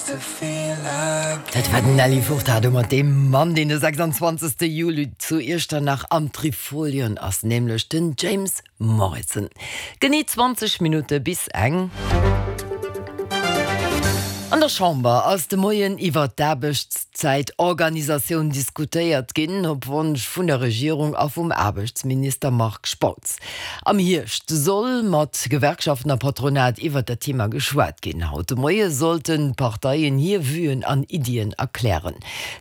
Dat war den Nelly Furtado mat deem Mann, deen de 26. Juli zu Iechternach am Trifolion ass, nämlech den James Morrison. Genee 20 Minutte bis eng. An der Chamber ass de Moien iwwer d'Aarbechtszäitorganisatioun diskutéiert ginn, op Wonsch vun der Regierung a vum Aarbechtsminister Marc Spautz. Am Hierscht soll mat Gewerkschaften a Patronat iwwert dat Thema geschwat ginn. Haut de Moie sollten d'Parteien hir Vuen an Iddien erklären.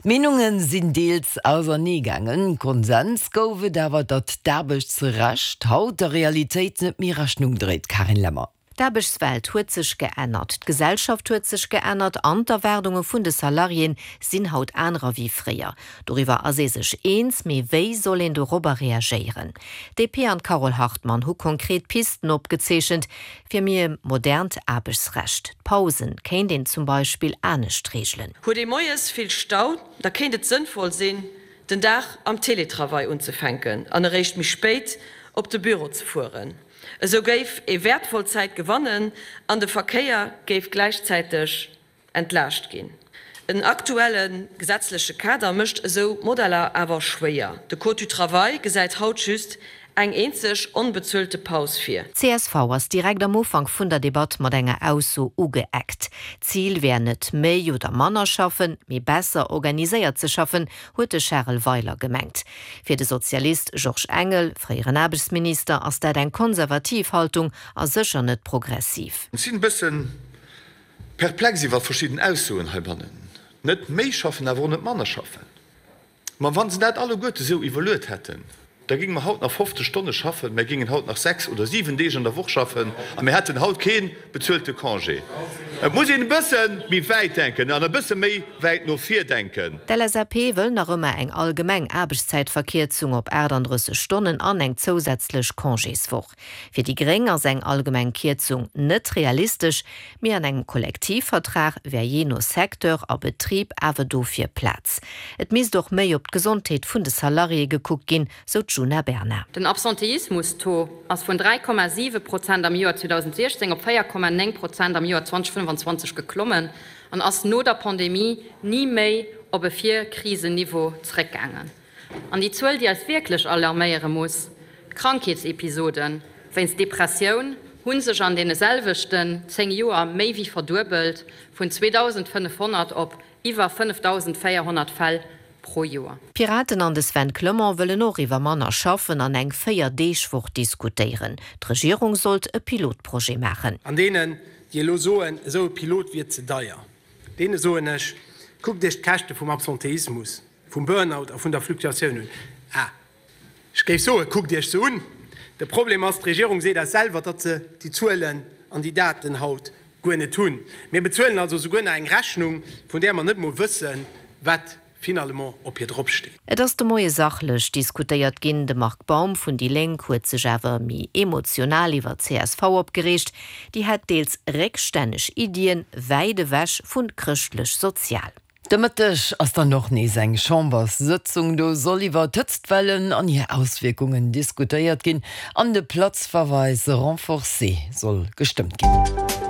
D'Meenunge sinn deels ausernee gaangen. Konsens gouf et awer, datt d'Aarbechtsrecht haut der Realitéit net méi Rechnung dréit. Carine Lemmer. D'Aarbechtswelt huet sech geännert, d'Gesellschaft huet sech geännert an d'Erwaardunge vun de Salariéen sinn haut anerer wéi fréier. Doriwwer ass ee sech eens, mee wéi soll een dorobber reagéieren? D'DP an d'Carole Hartmann hu konkret Pisten opgezeechent fir méi e modernt Aarbechtsrecht. D'Pausen kéint een zum Beispill anescht reegelen. Huet ee moies vill Stau, da kéint et sënnvoll sinn, den Dag am Télétravail unzefänken an eréischt méi spéit op de Büro ze fueren. Esou géif ee wäertvoll Zäit gewannen an de Verkéier géif gläichzäiteg entlaascht ginn. En aktuelle gesetzleche Kader mécht esou Modeller awer schwéier. De Code du travail gesäit haut just eng eenzeg onbezuelte Paus vir. Csv ass direkt am Ufank vun der Debatt mat enger Ausso ugeeckt. D'Zil wär net méi oder manner schaffen, mee besser organiséiert ze schaffen, huet de Charel Weiler gemengt. Fir de Sozialist Georges Engel, fréieren Aarbechtsminister, ass dat eng konservativ Haltung a sécher net progressiv. Ech sinn e bëssen perplex iwwer verschidden Aussoen heibannen. Net méi schaffen, awer och net manner schaffen. Ma wa se dat alleguerte sou iwwerluet hätten, da géinge mer haut nach 50 Stonne schaffen, mer géingen haut nach 6 oder 7 Deeg an der Woch schaffen a mir hätten haut kee bezuelte Congé. Et muss een e bësse méi wäit denken an e bësse méi wäit no vir denken. D'LSAP wëll nach ëmmer eng allgemeng Aarbechtszäitverkierzung op 38 Stonnen an eng zousätzlech Congéswoch. Fir déi Gréng ass eng allgemeng Kierzung net realistesch, mee an engem Kollektivvertrag wär jee no Secteur a Betrib awer dofir Plaz. Et misst och méi op d'Gesondheet vun de Salariéë gekuckt ginn, sou d'Djuna Bernard. Den Absenteismus-Taux ass vun 3,7 Prozent am Joer 2016 op 4,9 Prozent am Joer 2025 geklommen an ass no der Pandemie ni méi op e Vir-Krisen-Niveau zeréckgaangen. An déi Zuel, déi eis wierklech alarméiere muss, D'Krankheetsepisode wéinst Depressioun hu sech an deene selwechten 10 Joer méi wéi verduebelt, vun 2.500 op iwwer 5.400 Fäll pro Joer. D'Piraten an de Sven Clement wëllen och iwwer manner schaffen an eng Véier-Deeg-Woch diskutéieren. D'Regierung sollt e Pilotprojet maachen. An deenen, déi elo soen, esou e Pilot wier ze deier, deene soen ech, Kuckt Iech d'Käschte vum Absenteismus, vum Burnout a vun der Fluktuatioun un. Ah, ech géif soen, kuckt Iech se un! De Problem ass, d'Regierung seet eis selwer, datt se déi Zuelen an déi Daten haut guer net hunn. Mir bezuelen also souguer nach eng Rechnung, vun där mer net emol wëssen, wat finalement op hir dropsteet. Et ass de Moie sachlech diskutéiert ginn. De Marc Baum vun déi Lénk huet sech awer méi emotional iwwer csv opgereegt. Déi hätt deels réckstänneg Iddien, wäit ewech vu chrëschtlech-sozial. De Mëtteg ass dann och nees eng Chamberssëtzung. Do soll iwwer d'Hëtztwellen an hir Auswierkungen diskutéiert ginn an de Platzverweis renforcé soll gestëmmt ginn.